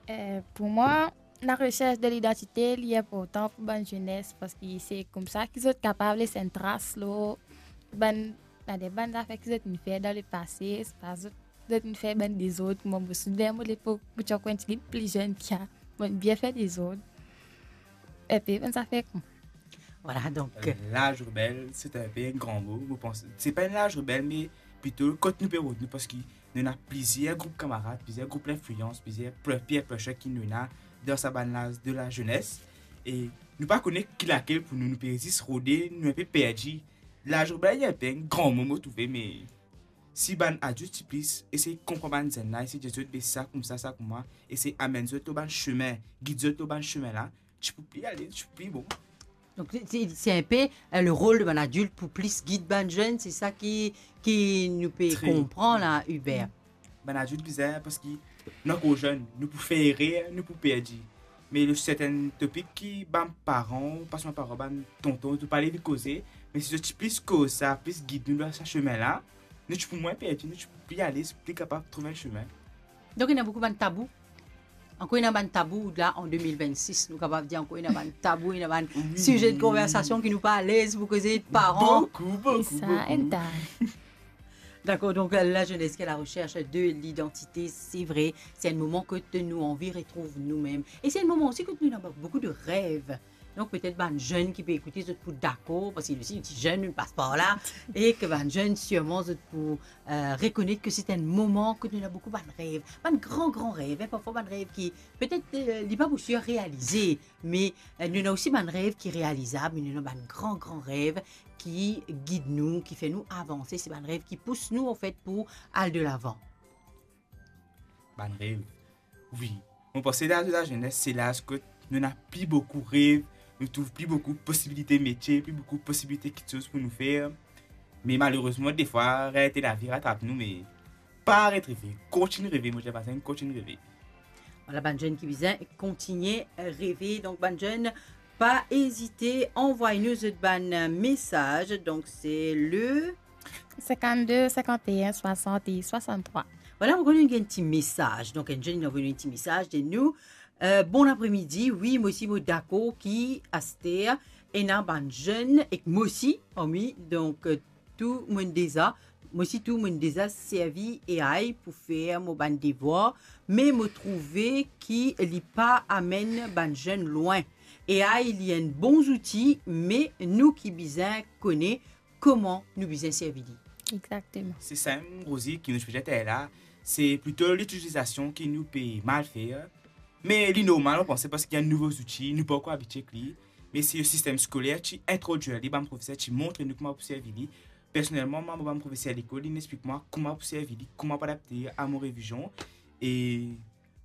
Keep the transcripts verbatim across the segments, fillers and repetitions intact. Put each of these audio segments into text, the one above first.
Eh, pou mwa, laresers de lidantite, li inportan pou bann zenes, parski se koumsa ki zot kapav les enn tras lor bann, bann, bann zafer ki zot inn fer dan lepase, swa zot, zot inn fer bann dezord, kouma mo souvenir mo lepok, mo ti ankor enn tigit pli zenn ki sa, mo inn bien fer dezord. Epi bann zafer koumsa. Vwala, donk, euh, laz rebel, se enn pe enn gran mo, mo panse. Se pa enn laz rebel, me plito kot nou pe rod nou, parski nou ena plizier group kamarad, plizier group linfliyans, plizier pre-, peer pressure ki nou ena dan sa bann laz de lazenes. E nou pa kone ki lakel pou nou, nou pe zis rode, nou enn pe perdi. Laz rebel, li enn pe enn gran mo, mo trouve, me si bann adilt ti plis esey konpran bann zenn la, esey dir zot, be sa koumsa, sa koumsa, esey amenn zot lor bann semin, gid zot lor bann semin la, ti pou pli ale, ti pou pli bon. Donk, se, se, se enn pe, eh, le rol de bann adilt pou plis gid bann zenn, se sa ki, ki nou pe konpran la, Hubert. Bann adilt bizin, parski nou ankor zenn, nou pou fer erer, nou pou perdi. Me lor sertenn topik ki bann paran, pa selman paran, bann tonton, zot pa le vinn koze, me si zot ti plis koz sa, plis gid nou dan sa semin la, nou ti pou mwin perdi, nou ti pou pli ale, pli kapav trouv enn semin. Donk, ena boukou bann tabou. Ankor ena bann tabou la, an de mil vennsis, nou kapav dir ankor ena bann tabou, ena bann size de konversasion ki nou pa alez pou koze, paran. Boukou, boukou, boukou. Dakor, donk, lazenes ki a la resers de lidantite, se vre, se enn moman kot nou anvi retrouv noumem. E se enn moman osi kot nou ena boukou de rev. Donk, petet bann zenn ki pe ekoute, zot pou dakor, parski nou osi, nou ti zenn, nou pas par la, e ki bann zenn, sirman, zot pou, eh, rekonet ki se enn moman kot nou ena boukou bann rev, bann gran, gran rev, en, parfwa bann rev ki, petet, eh, li pa pou sir realize, me, eh, nou ena osi bann rev ki realizab, me nou ena bann gran, gran rev ki gid nou, ki fer nou avanse, se bann rev ki pous nou, anfet, pou al de lavan. Bann rev. Wi. Mo panse laz de lazenes, se laz kot nou ena pli boukou rev, nou trouv pli boukou posibilite metie, pli boukou posibilite kiksoz pou nou fer. Me malerezman, defwa, realite lavi ratrap nou, me pa aret reve, kontign reve, mo dir bann zenn, kontign reve. Vwala, bann zenn ki bizin kontign reve. Donk, bann zenn, pa ezite, anvway nou zot bann mesaz. Donk, se le sinkannde, sinkanteen, swasant e swasanntrwa. Vwala, nou gagn enn ti mesaz. Donk, enn zenn inn anvoy nou enn ti mesaz, dir nou, eh, bon apremidi, wi, mo osi mo dakor ki aster ena bann zenn ek mo osi, parmi, donk, eh, tou mo'nn deza, mo osi tou mo'nn deza servi A I pou fer mo bann devwar, me mo trouve ki li pa amenn bann zenn lwin. A I, li enn bon zouti, me nou ki bizin kone kouma nou bizin servi li. Exakteman. Se sa mem, Rosie, ki nou ti pe dir taler la, se plito litilizasion ki nou pe mal fer. Me li normal, mo panse, parski enn nouvo zouti, nou pa ankor abitie ek li. Me si sistem skoler ti introdwir li, bann profeser ti montre nou kouma pou servi li. Personelman, mwa, mo bann profeser lekol, inn explik mwa kouma pou servi li, kouma pou adapte a mo revizion. E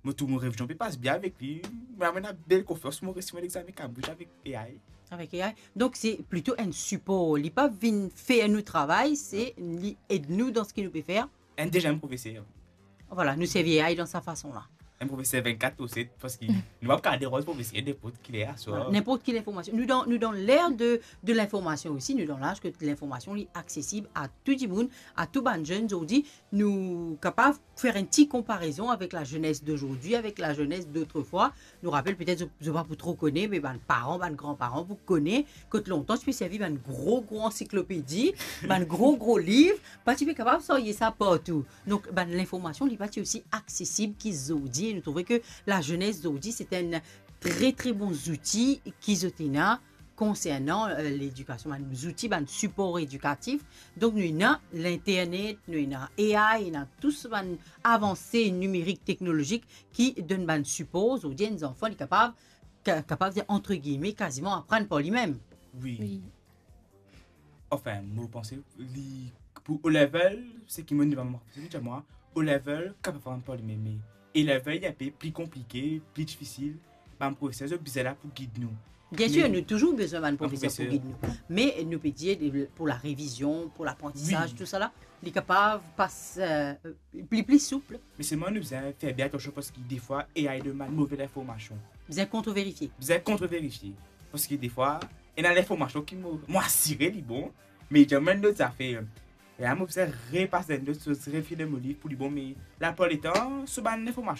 mo trouv mo revizion pe pas bien avek li. Mo ena bel konfians pou mo resi mo lexame Cambridge avek A I. Avek A I. Donk, se plito enn sipor. Li pa vinn fer nou travay, se li ed nou dan seki nou pe fer. Enn deziem profeser. Vwala, nou servi A I dan sa fason la. Enn profeser vennkat lor set, parski nou pa kapav deranz profeser ninport ki ler aswar. Vwala, ninport ki linformasion. Nou dan, nou dan ler de, de linformasion osi, nou dan laz kot linformasion li aksesib a tou dimoun, a tou bann zenn. Zordi, nou kapav fer enn ti konparezon avek lazenes dozordi, avek lazenes dotrefwa. Nou rapel, petet zot, zot pa pou tro kone, me bann paran, bann granparan pou kone, kot lontan ti pe servi bann gro, gro ansiklopedi, bann gro, gro liv, pa ti pe kapav sarye sa partou. Donk, bann linformasion, li pa ti osi aksesib ki zordi. E nou trouve ki lazenes zordi, se enn tre, tre bon zouti ki zot ena konsernan, eh, ledikasion, bann zouti, bann sipor edikatif. Donk, nou ena linternet, nou ena A I, ena tou sa bann avanse nimerik, teknolozik ki donn bann sipor. Zordi, enn zanfan, li kapav, ka-, kapav dir, antre gilme, kaziman aprann par limem. Wi. Wi. Anfin, mo panse li pou O level, seki mo dir bann profeser, dir mwa, O level kapav aprann par limem, me A level, li enn pe pli konplike, pli difisil. Bann profeser, zot bizin la pou gid nou. Biensir, nou touzour bizin bann profeser pou gid nou. Me nou pe dir, pou larevizion, pou laprantisaz, tou sa la, li kapav pas, eh, pli, pli soup. Me selman nou bizin fer bien atansion, parski defwa, A I donn bann move linformasion. Bizin kontreverifie. Bizin kontreverifie. Parski defwa, ena linformasion ki mo, mo asire li bon, me li dir mwa enn lot zafer. E la, mo bizin repas enn lot soz, refir dan mo liv pou li bon, me laplipar letan, so bann linformasion